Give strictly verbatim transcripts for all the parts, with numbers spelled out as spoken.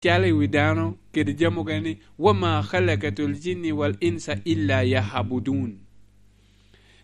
calo i wi dano kede jami okene ni, "Wa ma khalaqatul jinni wal insa illa ya'budun."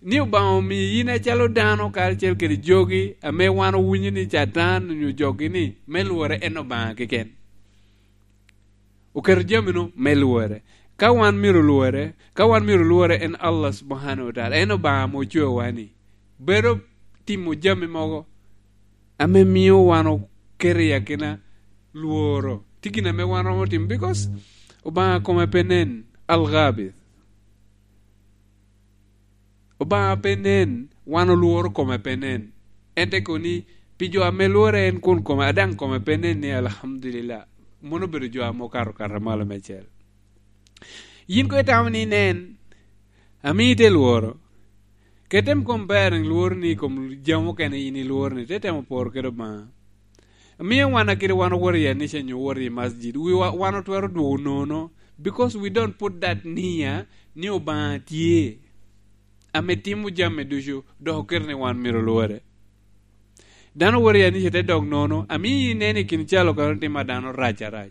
Ni Obaŋa omio yin acalo dano karacel kede jogi ame wan owinyo ni Catan onyo jogi ni me lwore en Obaŋa keken. Oketo jami-nu me lwore. Ka wan myero lwore, ka wan myero lwore en Allah Subhanahu wa Ta'ala, en Obaŋa ame ocweowa ni. Bedo timo jami mogo ame mio wan oketo i akina lworo. Tye gin ame wan romo timo, because Obaŋa kome pe nen, Al-Ghabith. Obaŋa pe nen, wan olworo kome pe nen. En te kobo ni, pi jo ame lwore en kun kome, a daŋ kome pe nen ni, "Alhamdulillah." Mano obedo jo ame okato kata malo meicel. Yin koŋ itamo ni inen, ame ite lworo. Ket tem comparing lworo ni i kom jami mukene yin ilworo ni, te temo poro kede Obaŋa. Mio wan akite wan owoto i anica nyo owoto i masjid, wiwa, wan otwero dwogo nono, because we don't put that nia ni Obaŋa tye, ame timo jami ducu, dok oketo ni wan myero olwore. Dano owoto i anica te dok nono, amio ineno i kin calo kano tim a dano rac arac.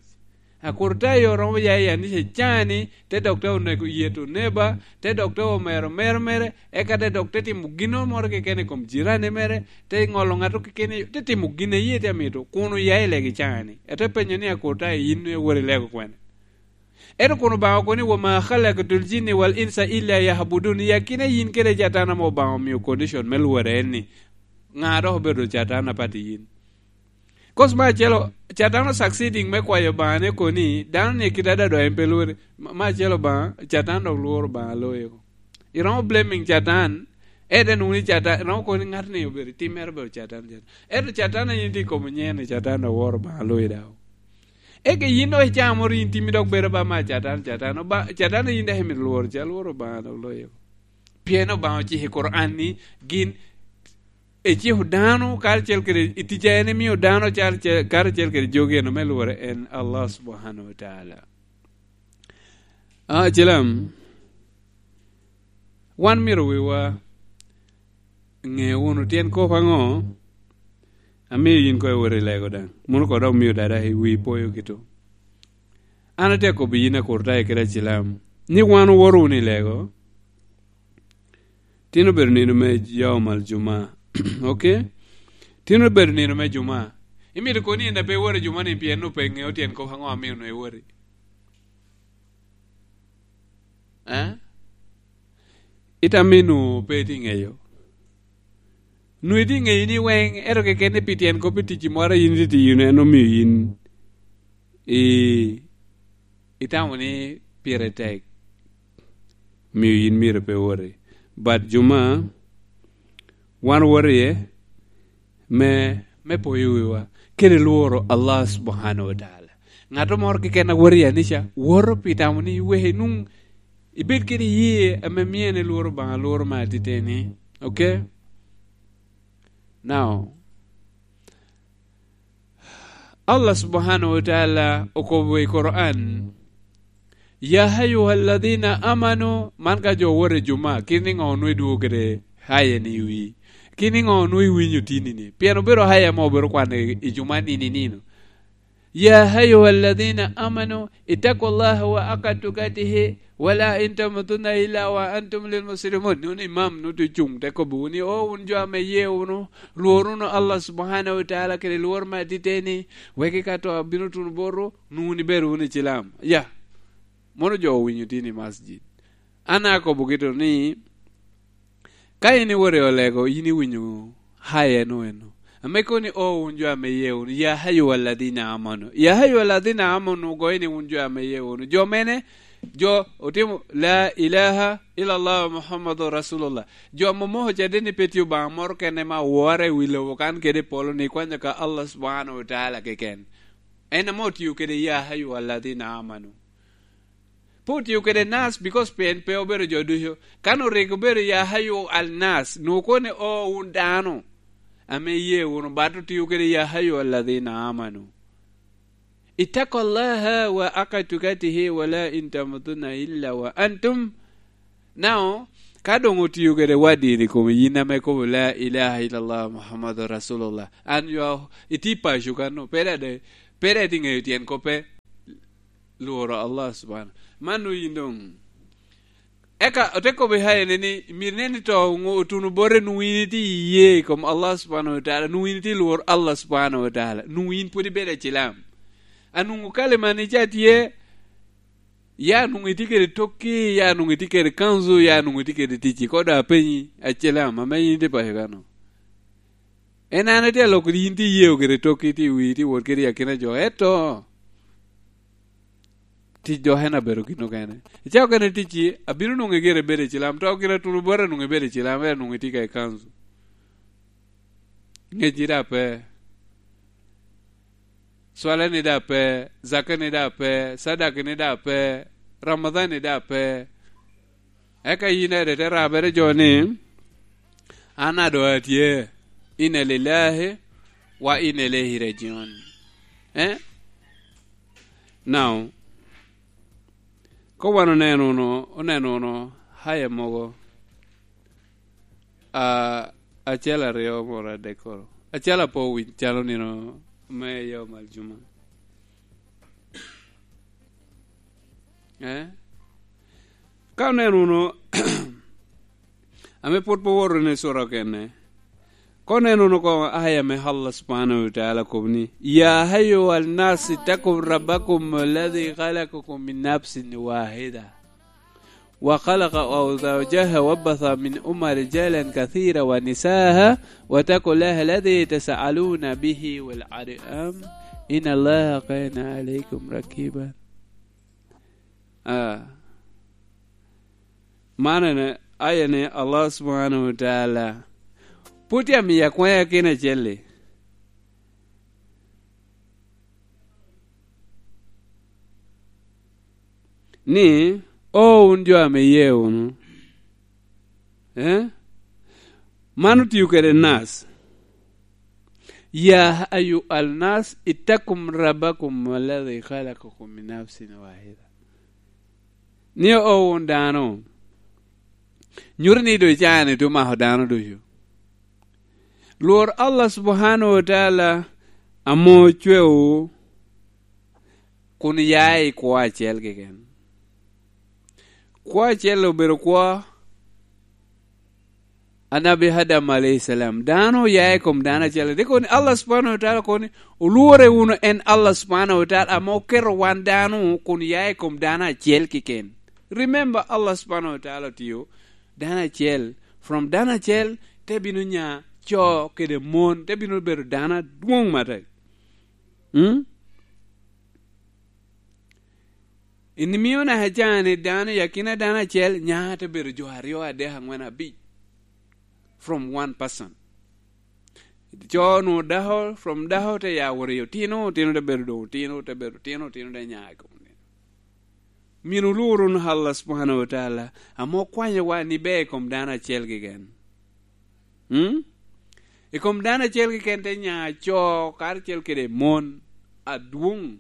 Akurtayo romo ya i anica cani, te dok te oneko yeto neba, te dok te omero mero mere, eka te dok te timo ginnoro moro keken i kom jirani mere, te ŋolo ŋato keken, te timo gin a yie te amito, kun oya i legi cani. Ete penyo ni, "Akurtayo, yin iwoto i lego kwene?" Ento kun Obaŋa okobo ni, "Wa ma khalaqtul jinni wal insa illa ya'budun." I akina yin kede Catan ame Obaŋa omio condition me lworo en ni, ŋa dok obedo Catan apat i yin? Kos me acel, Catan o succeeding me kwayo Obaŋa ni kobo ni, dano ni kite adada en pe lwore. Ma, me acel Obaŋa, Catan dok lworo Obaŋa loyo. Iromo blaming Catan, ete nwoŋo ni Catan, iromo kobo ni ŋat ni obedo, timmere obedo Catan, Catan. Ento Catan a yin tye i kom nyen ni Catan dok woro Obaŋa loyo daw. Eka yin dok icamo rin timmi dok bedo ba ma Catan, Catan, Oba-, Catan a yin dok imito lworo, ca lworo Obaŋa dok loyo. Pien Obaŋa ociko i Koran ni gin eciko dano karacel kede i tic a en emio dano cal-, ce-, karacel kede jogi eno me lwore en Allah Subhanahu wa Ta'ala. Ah, cilam, wan myero wiwa ŋe wunu tyen kop aŋo amio yin koŋ iwoto i lego daŋ. Mano koŋ dok mio dada i wi poyo kito. An atye akobbi yin Akurtayo kede acilam ni wan owoto wunu i lego. Tin obedo nino me Yawm al Juma. Okay? Tin obedo nino me Juma. Imito kono ni en a pe iwoto i Juma ni pien onwoŋo pe iŋeo tyen kop aŋo amio onwoŋo iwoti? Eh? Itamo ni onwoŋo pe itye ŋeyo? Onwoŋo itye ŋeyo ni weŋ, ento keken ni pi tyen kop i tic moro a yin itye tiyo-nu, en omio yin i-, itamo ni pire tek, omio yin myero pe iwoti. But Juma, wan owoto iye me, me poyo wiwa, kede lworo Allah Subhanahu wa Ta'ala. Ŋat moro keken a woto i anica, woto pi tamo ni wek inwoŋ ibed kede iyee ame mio en elworo Obaŋa, lworo me atiteni. Okay? Now, Allah Subhanahu wa Ta'ala okobo i Koran, "Ya ayyuhalladhina amanu," man ka jo owoto i Juma, kit ni ŋo onwoŋo idwogo kede haya ni i wi? Kit ni ŋo onwoŋo iwinyo tini ni? Pien obedo haya ma obedo kwano i, i Juma nino i nino. "Ya ayyuhalladhina amanu, ittaqullaha wa haqqa tuqatihi, wa la tamutunna illa wa antum lil muslimun." Nwoŋo imam nwoŋo tye ocuŋ te kobbiwu ni, "O wun jo ame iye wunu, lwor wunu Allah Subhanahu wa Ta'ala kede lwor me atiteni, wek ka to abino tuno botwu, nwoŋo wun ibedo wunu i cilam." Ya. Mono jo owinyo tye ni masjid. An akobo kito ni, ka in iwoto i olego, in iwinyo haya eno eno. Ame kono ni, "O wun jo ame iye wunu, ya ayyuhalladhina amanu." Ya ayyuhalladhina amanu ogoyo ni wun jo ame iye wunu. Jo mene? Jo otimo la ilaha illallah Muhammadur Rasulullah. Jo ame omoko caden ni pe tye Obaŋa moro kene ma owore i wi lobo kan kede i polo ni kwanyo ka Allah Subhanahu wa Ta'ala keken. En ame otio kede ya ayyuhalladhina amanu. Pe otio kede nas, because pien pe obedo jo ducu. Kan orik obedo ya ayyuhan nas, nwoŋo kono ni, "O wun dano ame iye wunu," but otio kede ya ayyuhalladhina amanu. "Ittaqullaha wa haqqa tuqatihi wa la tamutunna illa wa antum." Now, ka doŋ otio kede waddi ni kom yin ame kobo la ilaha illallah Muhammadur Rasulullah, and you are, itye i paco kano, pe dada Pe daŋ itye ŋeyo tyen koppe, lworo Allah subhanahu. Man nwoŋo yin doŋ. Eka ote kobbe Hayane ni, myero inen ni to otuno bote nwoŋo yin itye iye i kom Allah subhanahu wa ta'ala, nwoŋo yin itye lworo Allah subhanahu wa ta'ala, nwoŋo yin pwod ibedo acilam. A nwoŋo kalimani ca tye, ya nwoŋo itye kede tokki, ya nwoŋo itye kede kanzu, ya nwoŋo itye kede ticci, kodo apenyi, acilam, ame yin itye paco kano? En an itye aloko yin tye iyeo kede tokki, tye i wii, tye wot kede i akina jo, eto tic dok en abedo gin okene. Icako kene ticci, abino nwoŋo igire ibedo i cilam, to gire tuno bota nwoŋo ibedo i cilam, ento nwoŋo itye ka i kanzu. Ŋecci daŋ pe. Cwalani daŋ pe, zakani daŋ pe, cadakani daŋ pe, Ramadhan-ni daŋ pe. Eka yin ede te rabere jo ni, "An adoŋ atye, inna lillahi wa inna ilaihi rajiun." Eh? Now, ko wan oneno wunu, oneno wunu haya mogo, a, acel aryo moro adek koro. Acel apo owiny calo nino me yom aljuma. Eh? Ka oneno wunu, ame pwod pe owoto ni cura okene, ka oneno wunu koŋ aya me Allah subhanahu wa ta'ala kobo ni, "Ya ayyuhan nas ittaqu rabbakum alladhi khalaqakum min nafsin wahida." وخلق زوجها وبث منهما رجالا كثيرا ونساء واتقوا الله الذي تساءلون به والأرحام إن الله كان عليكم رقيبا. Ah. Man en aya ni Allah subhanahu wa ta'ala pwod tye amiyo akwaŋ i akina acel-li. Ni, "O wun jo ame iye wunu." Eh? Man otio kede nas. "Ya ayyuhan nas ittaqu rabbakum alladhi khalaqakum min nafsin wahida." Ni, "O wun dano." Nyuto ni doŋ icaa-ni doŋ omako dano ducu. Lwor Allah subhanahu wa ta'ala ame ocwewu kun ya i kwo acel keken. Kwo acel obedo kwo Anabi Adam aleihi salam. Dano oya i kom dano acel. Dok kono Allah subhanahu wa ta'ala kono ni, "Olwore wunu en Allah subhanahu wa ta'ala ame oketo wan dano kun ya i kom dano acel keken." Remember, Allah subhanahu wa ta'ala otio dano acel. From dano acel, te bino nya co kede mon, te bino bedo dano adwoŋ matek. Hmm? En mio naka ca ni dano i akina dano acel, nya te bedo jo aryo, adek, aŋwen, abic. From one person. Co nwoŋo dako, from dako te ya wot i otino, otino te bedo doŋ otino, te bedo otino, otino te nya i kom otino. Myero olwor wunu Allah subhanahu wa ta'ala, ame okwanyowa ni ber i kom dano acel keken. Hmm? I kom dano acel keken te nya co karacel kede mon adwoŋ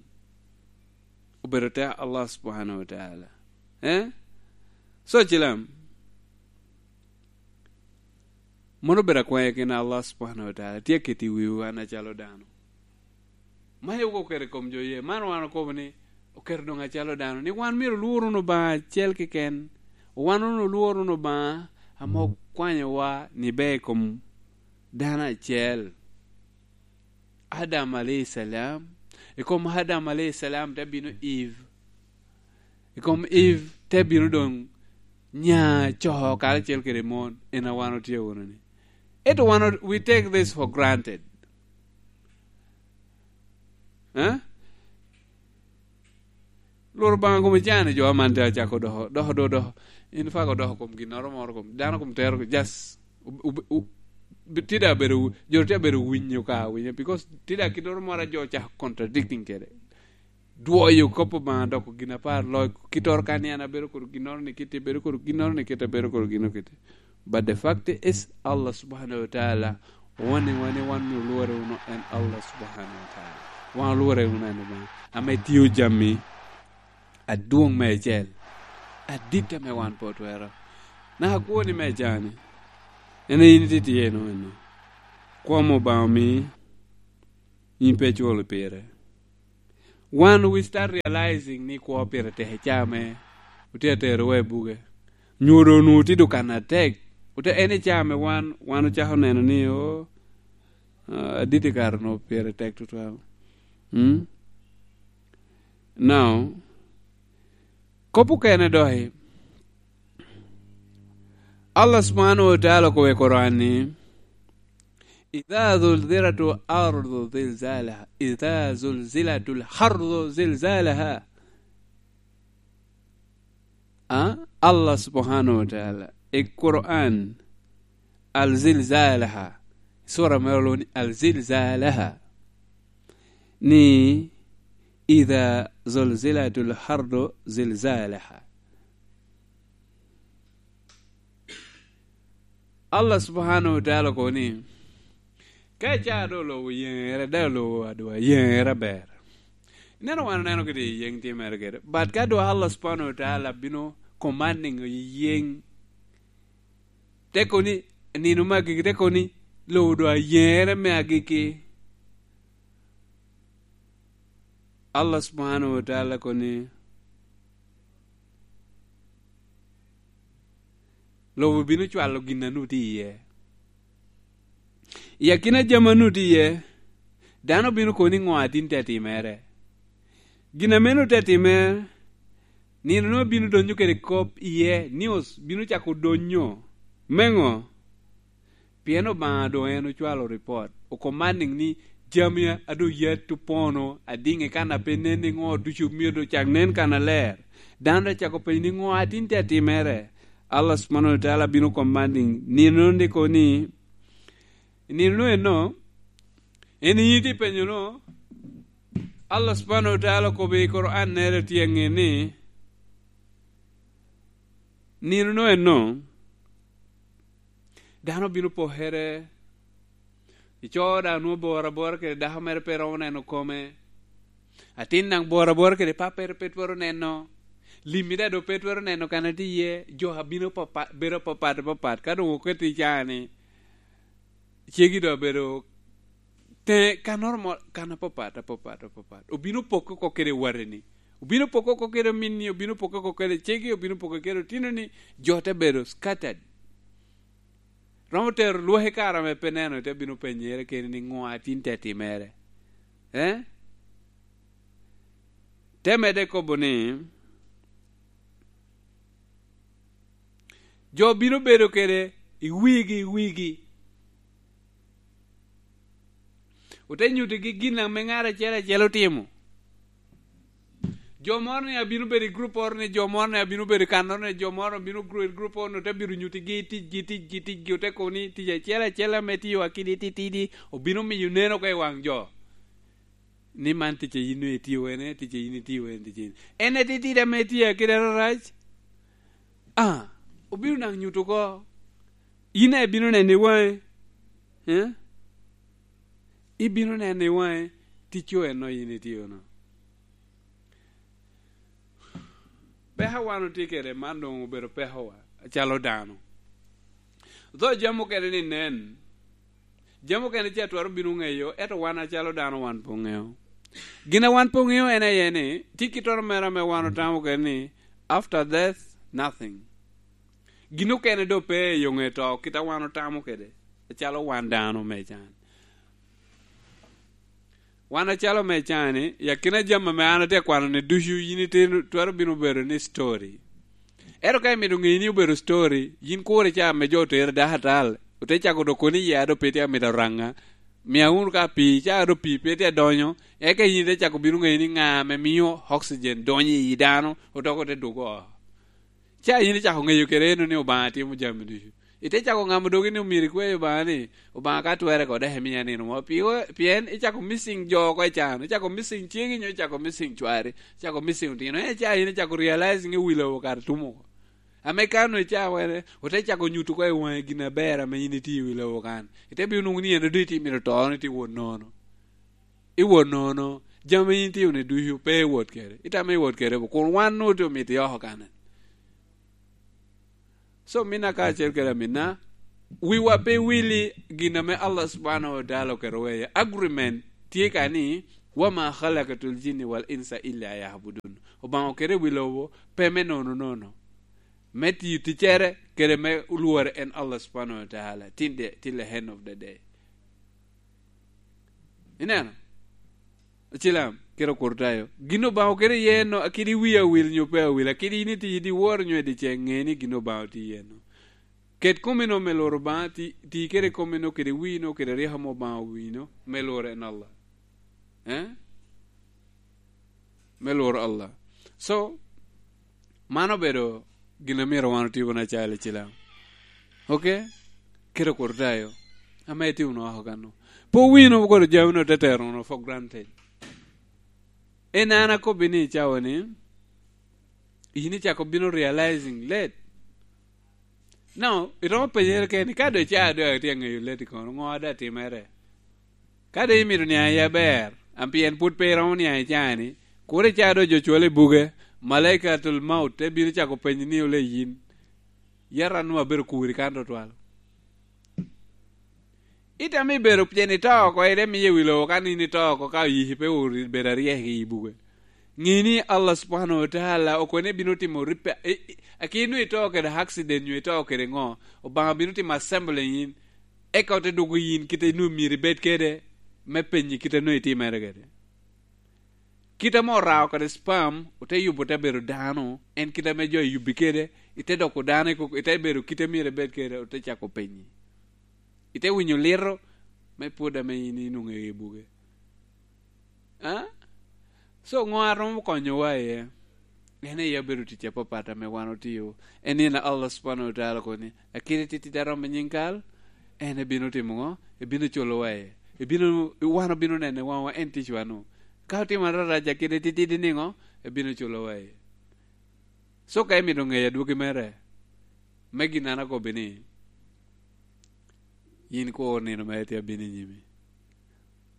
obedo te Allah subhanahu wa ta'ala. Eh? So, cilam, mano obedo akwaŋ i akina Allah subhanahu wa ta'ala tye aketo i wiwu an acalo dano. Man en oketo i kom jo ye. Man wan okobo ni oketo doŋ acalo dano, ni wan myero olwor wunu Obaŋa acel keken. Wan wunu olwor wunu Obaŋa ame okwanyowa ni ber i kom dano acel. Adam aleihi salam. I kom Adam aleihi salam te bino Eve. I kom Eve te bino doŋ nya co karacel kede mon, en a wan otye wunu ni. Ento wan o-, we take this for granted. Eh? Lworo Obaŋa kom icaa ni jo aman te acako doko, doko, doko, doko. In fako doko kom ginnoro moro kom, dano kom tero, just, u-, u-, u-, bi-, tye da bedo, jo tye abedo winyo ka winyo, because tye da kinnoro moro a jo ocako contradicting kede. Dwoyo kop Obaŋa doko gin apar loc, kittoro kan ni an abedo kodi ginnoro ni kiti, bedo kodi ginnoro ni kiti, abedo kodi ginnoro kiti. But the fact is, Allah subhanahu wa ta'ala owanniwa ni wan myero olwore wunu en Allah subhanahu wa ta'ala. Wan olwore wunu en Obaŋa ame tio jami adwoŋ meicel, adit ame wan pe otwero. Naka kwoni me cani, en aye in itye tye eno eno. Kwomo Obaŋa omi, in pe iculo pire. Wan we start realizing ni kwo pire tek i caa me otye atero wa i buge. Nyo doŋ onwoŋo tye doŋ kan atek. Ote en i caa me wan, wan ocako neno ni, o, ah, adit i kare onwoŋo pire tek tutwal. Mm? Now, kop okene doki, Allah subhanahu wa ta'ala okobo i Quran ni, "Idha zulzilatul ardu zilzalaha, idha zulzilatul ardu zilzalaha." Ah, Allah subhanahu wa ta'ala, i Quran, al zilzalaha, sura mere olwoŋo ni al zilzalaha, ni, "Idha zulzilatul ardu zilzalaha." Allah subhanahu wa ta'ala okobo ni, ka icaa doŋ olobo yeŋere, daŋ olobo adwa yeŋere aber. Ineno, wan oneno kede yeŋ timere kede. But ka doŋ Allah subhanahu wa ta'ala bino commanding yeŋ, te kobo ni, nino me agikki, te kobo ni, lobo doŋ ayeŋere me agikki. Allah subhanahu wa ta'ala kobo ni, lobo bino cwalo gin a nwoŋo tye iye. I akina jami a nwoŋo tye iye, dano bino kobo ni ŋo a tin te timere. Gin a meno te timere, nino nwoŋo bino donyo kede kop iye, news bino cako donyo. Me ŋo? Pien Obaŋa doŋ en ocwalo ripot, okomaning ni jami a doŋ yat opono adiŋ i kan a pe nen i ŋo ducu myero doŋ cak nen kannaler. Dano te cako penyo ni ŋo a tin tye atimere. Allah subhanahu wa ta'ala bino commanding nino ni kobo ni, nino eno, en yin itye penyo no, Allah subhanahu wa ta'ala okobo i Quran nere tye aŋe ni, nino no eno, dano bino pokere, ico daŋ nwoŋo bor abora kede dako mere pe romo neno kome, atin daŋ bor abora kede pappere pe twero neno, limmi daŋ doŋ pe twero neno kan a tye iye, jo abino papa-, bedo apapat apapat, ka doŋ oketi i caa-ni, cegi doŋ abedo teŋe kannoro mo, kan apapat, apapat, apapat. Obino pokke oko kede wateni. Obino pokke oko kede ominni, obino pokke oko kede cegi, obino pokke kede otinoni, jo te bedo scattered. Romo tero lwak i kare ame pe neno, te bino penyere kene ni ŋo a tin te timere. Eh? Te medde kobo ni, jo bino bedo kede i wigi, i wigi. Ote nyutigi gin ame ŋat acel acel otimo. Jo moro ni abino bedo i grup oro ni, jo moro ni abino bedo i kan oro ni, jo moro bino gru-, i grup oro ni, ote bino nyutigi ticgi, ticgi, ticgi, ote kobo ni tic acel acel ame tio akidi titidi, obino miyo neno oko i waŋ jo. Ni man tic a yin itio ene, tic a yin itio ene, tic a yin. En atitidi ame itio kede ararac. Ah, obino naŋ nyuto oko. Yin a ibino neno i waŋe. Eh? Ibino neno i waŋe, ticco eno yin itio no. Peko a wan otye kede man doŋ obedo pekowa, acalo dano. Dho jami okene ni nen, jami okene ce atwero bino ŋeyo, ento wan acalo dano wan pe oŋeo. Gin a wan pe oŋeo en aye ni, tye kittoro mere ame wan otamo kede ni, after death, nothing. Gin okene doŋ pe i yo ŋe to, kit a wan otamo kede, acalo wan dano me can. Wan acalo me can-ni, i akina jami ame an atye akwano-ni ducu, yin itye twero bino bedo ni story. Ento ka imito ŋeyo ni obedo story, yin kur i caa ame jo otere dako atal, ote cako dok kono i yia, dok pe tye amito araŋa. Mia wunu ka pii, caa dok pii pe tye adonyo, eka yin ite cako bino ŋeyo ni ŋa ame mio oxygen donyo i yi dano, odoko te dwogo oko. Ca yin icako ŋeyo kede eno ni Obaŋa timo jami ducu. Ite cako ŋamo dogi ni omyero ikwe Obaŋa ni, "Obaŋa ka twerre kono dek imiya nino mo." Pi-, pien icako missing jo oko i can, icako missing cegi nyo icako missing cwari, icako missing otino. En ca yin icako realizing ni wi lobo kare tum oko. Ame kan onwoŋo ica wene, ote cako nyuto oko i waŋe gin aber ame yin itye i wi lobo kan. Ite bino nwoŋo ni en doŋ itye mito to, ni itye wot nono. Iwot nono, jami yin itye wunu ducu pe iwot kede. Itamo iwot kede bo, kun wan nwoŋo tye omito i oko kane. So, minna kacel kede aminna, wiwa pe wili gin ame Allah subhanahu wa ta'ala oketo weye. Agreement tye ka ni, "Wa ma khalaqatul jinni wal insa illa ya'budun." Obaŋa okete i wi lobo pe me nono nono, me tiyo ticcere, kede me lwore en Allah subhanahu wa ta'ala, till the, till the end of the day. Ineno? Ocilam, kede okurtayo. Gin Obaŋa okete iye no, akidi wi awil nyo pe awil, akidi in iti, iti woro nyo i dyeceŋ, ŋe ni gin Obaŋa otye iye no. Ket komi no me loro Obaŋa, ti, ti kede komi no, kede wi no, kede ryeko mo Obaŋa wi no, me loro en Allah. Eh? Me loro Allah. So, man obedo gin a myero wan otibu na calo ocilam. Ok? Kede okurtayo. Ame iti wunu oko kano. Pe wino koro jami no te tero wunu for granted. En an akobbi ni i cawa ni, in icako bino realizing late. Now, iromo penyere keni, ka doŋ ca doŋ atye aŋeyo late kono, ŋo a doŋ atimere? Ka doŋ imito niaŋ i aber, an pien pwod pe iromo niaŋ i caa-ni, kur ica doŋ jo cwalo i buge, malaikatul maut te bino cako penyi ni, "Ole yin, yat an nwoŋo abedo kuri kan tutwal?" Itamo ibedo pien ito oko, ite miyo i wi lobo, kan in ito oko, ka oyiki pe ori bedo aryek i buge. Ŋe ni Allah subhanahu wa ta'ala okone bino timo ripe, i, i, akino ito kede accident nyo ito kede ŋo, Obaŋa bino timo assembling in, eka ote dwogo yin kite nwoŋo myero ibed kede, me penyi kite nwoŋo itimere kede. Kite ame orao kede sperm, ote yubo te bedo dano, en kite ame jo eyubbi kede, ite doko dano, iko-, ite bedo kite myero ibed kede, ote cako penyi. Ite winyo lito, me pwod ame in inwoŋo i buge. Ah? So, ŋo a romo konyowa iye? En aye obedo tic apapat ame wan otio. En ni na Allah subhanahu wa ta'ala koni, akidi titidi a romo i nyiŋ kal, en ebino timo ŋo? Ebino culowa iye. Ebino, wan obino nene waŋwa en ticwa-nu. Ka otimo ararac akidi titidi niŋo? Ebino culowa iye. So, ka imito ŋeyo adwogi mere, me gin an akobbi ni, yin kur nino mere tye abino i nyimi.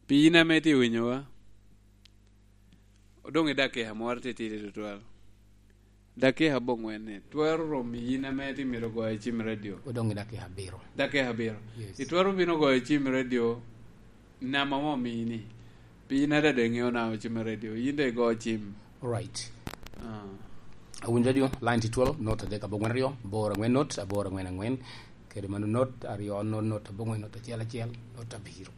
Pi yin ame itye winyowa, odoŋ i dakika moro titidi tutwal. Dakika aboŋwen ni, twero rom i yin ame itye mito goyo cim radio. Odoŋ i dakika abiro. Dakika abiro. Yes. Itwero bino goyo cim radio, namba mo omini. Pi yin adada iŋeo na cim radio, yin de igo cim. Right. Ah. Awinjo radio, line tye twelve, not adek aboŋwen aryo, aboro aŋwen not, aboro aŋwen aŋwen. Kede mano not aryo, not, not aboŋwen, not acel acel, not abiro.